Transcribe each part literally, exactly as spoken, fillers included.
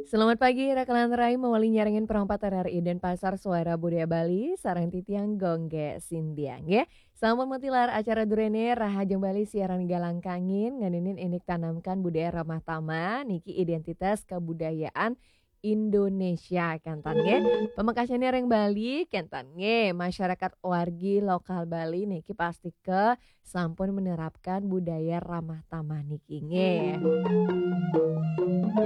Selamat pagi, Rakelan Rai, mawali nyarengin perompat R R I Denpasar Suara Budaya Bali, sareng titiang Gung Gé Sintiang, nggih. Sampun matilar acara duréné Rahajeng Bali siaran Galang Kangin, ngeninin indik tanamkan budaya ramah tamah, niki identitas kebudayaan Indonesia, kénten, nggih. Pamekasnyané ring Bali, kénten, nggih. Masyarakat wargi lokal Bali niki pastika sampun menerapkan budaya ramah tamah niki, nggih.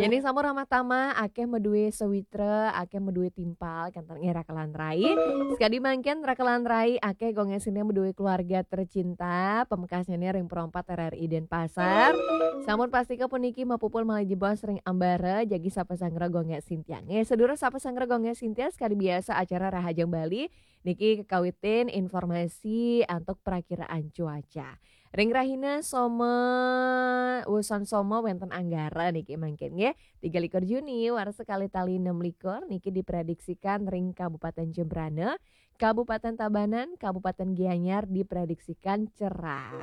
Yén sampun ramah tamah, akéh madué sawitra, akéh madué timpal, kénten, nggih, Rakelan Rai. Sakadi mangkin Rakelan Rai akéh Gung Gé Sintiang madué keluarga tercinta, pamekasnyané ring perompat R R I Denpasar. Sampun pastika puniki mapupul malih jebos ring ambara, jagi sapasanggra Gung Gé Sintiang. Nggih, sedulur sapasanggra Gung Gé Sintiang, sakadi biasa acara Rahajeng Bali niki kekawitin informasi antuk prakiraan cuaca. Ring rahina Soma, wusan Soma wénten Anggara niki mangkin, nggih. Tiga likur Juni, warsa kalih tali enam likur niki diprediksikan ring Kabupaten Jembrana, Kabupaten Tabanan, Kabupaten Gianyar diprediksikan cerah.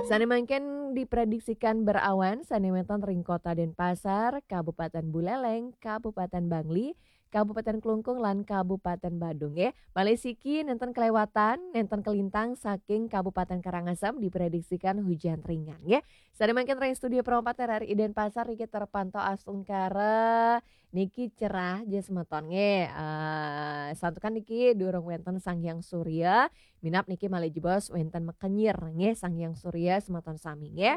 Sané mangkin diprediksikan berawan, sané wénten ring Kota Denpasar, Kabupaten Buleleng, Kabupaten Bangli, Kabupaten Klungkung, lan Kabupaten Badung, nggih. Malih siki nénten kelewatan, nénten kelintang saking Kabupaten Karangasem diprediksikan hujan ringan, nggih. Sané mangkin ring studio perompat R R I Denpasar niki terpantau astungkara niki cerah, jero semeton, nggih. Eh, santukan niki durung wénten Sang Hyang Surya, minab niki malih jebos wénten makenyir, nggih, Sang Hyang Surya semeton sami, nggih.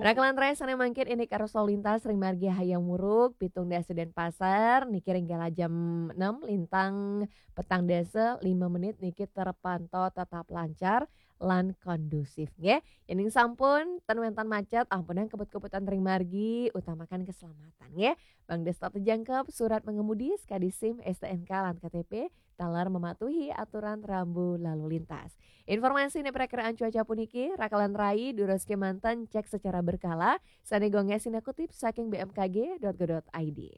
Rakelan Rai sané mangkin indik arus lalu lintas ring margi Hayam Wuruk, pitung dasa Denpasar, niki ring kala jam enam lintang petang dasa lima menit niki terpantau tetap lancar lan kondusif, nggih. Yéning sampun ten wénten macet, ampunang kebut-kebutan ring margi, utamakan keselamatan, nggih. Mangda tetep jangkep surat mengemudi, sakadi SIM, STNK, lan KTP, taler mematuhi aturan rambu lalu lintas. Informasi niki prakiraan cuaca puniki, Rakelan Rai, durus kémanten cek secara berkala, sané Gung Gé Sintiang kutip saking B M K G dot go dot I D.